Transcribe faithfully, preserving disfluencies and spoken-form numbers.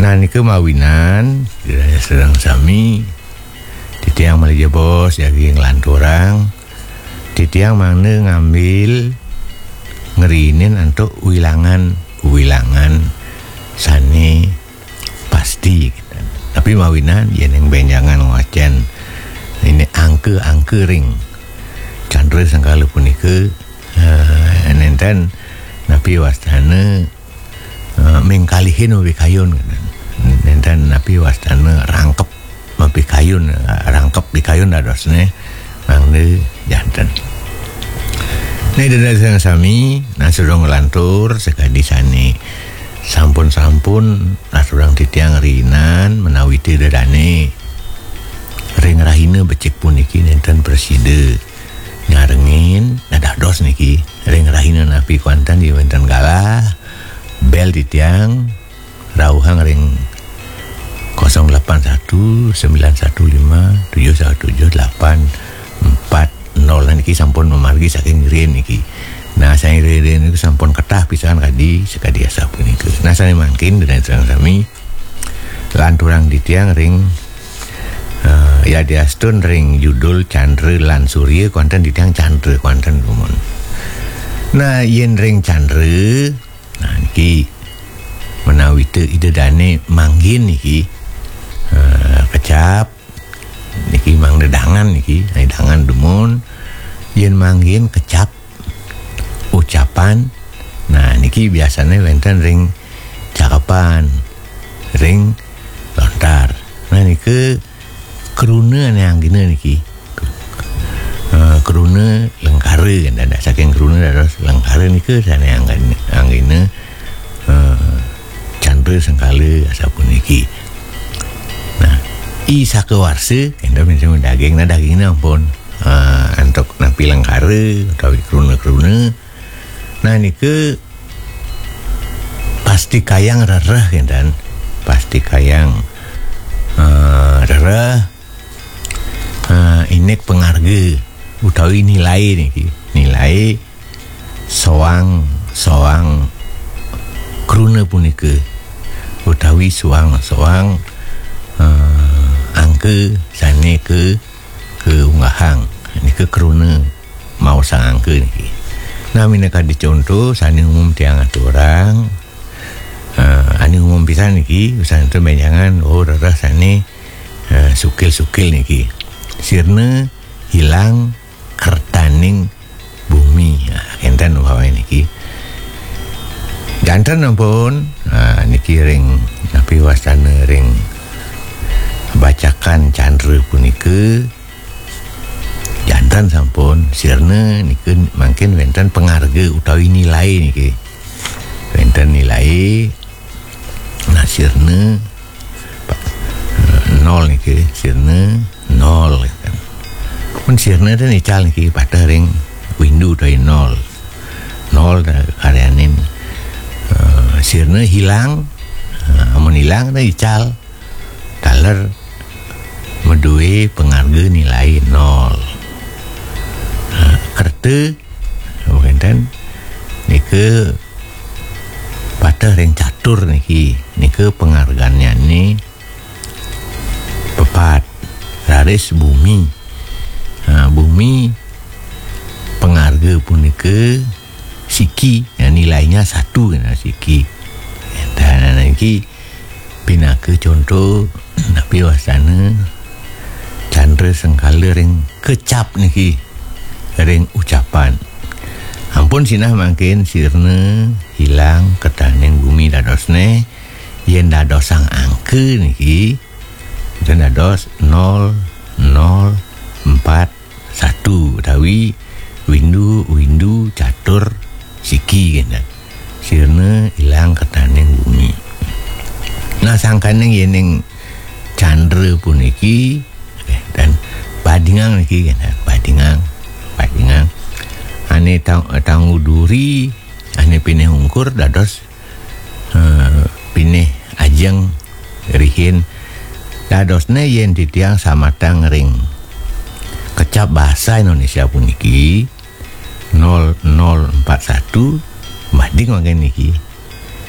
Nah, nika mawinan, sedeng sami, titiang malih jebos jagi nglanturang, titiang mangda ngambil ngrinin antuk wilangan-wilangan sane pasti. Tapi mawinan, yening benjangan ngwacen ini angka-angka ring Candra Sengkala punika, eh, nenten napi wastane, eh, mengkalihin mapikayun. Nenten napi wastane rangkep mapikayun, rangkep pikayun dadosne mangda janten. Nah, Ida dané sami, nah, sudah nglantur sakadi sane sampun-sampun aturang titiang rinan menawi Ida dané ring rahina becik puniki nenten prasida nyarengin, nah, dados niki ring rahina napi kuanten ya wenten galah, bel titiang rauhang ring kosong delapan satu, sembilan satu lima, tujuh satu tujuh, delapan empat nol. Nah, niki sampun mamargi saking riin niki. Nah, sane riin niku sampun ketah pisan kadi, sakadi asapunika. Nah, sane mangkin Ida dané sami lanturang titiang ring, eh, yadiastun ring judul Candra lan Surya kuanten titiang Candra kuanten dumun. Nah, yen ring Candra, nah, niki menawi Ida dané manggihin niki, eh, kecap niki mangda dangan niki, nah, dangan dumun. Yen manggihin kecap ucapan, nah, niki biasane wenten ring cakepan, ring lontar. Nah, nika kruna ane anggina niki. Eh, kruna lengkara, kan, dados saking kruna dados lengkara nika sane anggina, anggina, eh, Candra Sengkala asapuniki. Nah, i sakawarsa, kan, daging, nah, dagingnya ampun, eh, antuk napi lengkara utawi kruna-kruna. Nah, nika pastikayang rereh, kan. Pastikayang, eh, rereh, eh, indik pangarga utawi nilai niki. Nilai soang, soang kruna punika utawi soang, soang, eh, angka sane ka, kaunggahang. Nika kruna maosang angka niki. Nah, minakadi conto sane umum tiang aturang, eh, ane umum pisan niki, usan ento benjangan, oh, rereh sane, eh, sukil-sukil niki. Sirna hilang kertaning bumi. Nah, kenten umpamane niki. Janten ampun, nah, niki ring napi wastane ring bacakan Candra punika, janten sampun sirna nika mangkin wenten pangarga utawi nilai niki. Wenten nilai, nah, sirna, pa-, nol niki, sirna nol, kan. Mun sirna ten ical niki pateh ring windu utawi nol. Nol ta karyanin, eh, sirna hilang, eh, amun hilang ten ical taler madue pangarga nilai nol. Nah, kerta, wenten nika pateh ring catur niki, nika pangargannyane pepat. Raris bumi. Nah, bumi pangarga punika siki, ya, nilainya satu, nah, siki. Nah, niki pinaka conto napi wastane Candra Sengkala ring kecap niki, ring ucapan. Ampun sinah mangkin sirna hilang kertaning bumi dadosne, yen dadosang angka niki, enten dados nol nol empat satu utawi windu, windu catur siki, kenten. Sirna ilang kertaning bumi. Nah, sangkaning yening Candra puniki, eh, ten badingang niki, kenten, badingang, badingang. Ane tang-, tanggu duri, ane pinih ungkur dados, eh, pinih ajeng rihin. Dadosne yen titiang samatang ring kecap basa Indonesia puniki, nol nol empat satu, bading mangkin niki.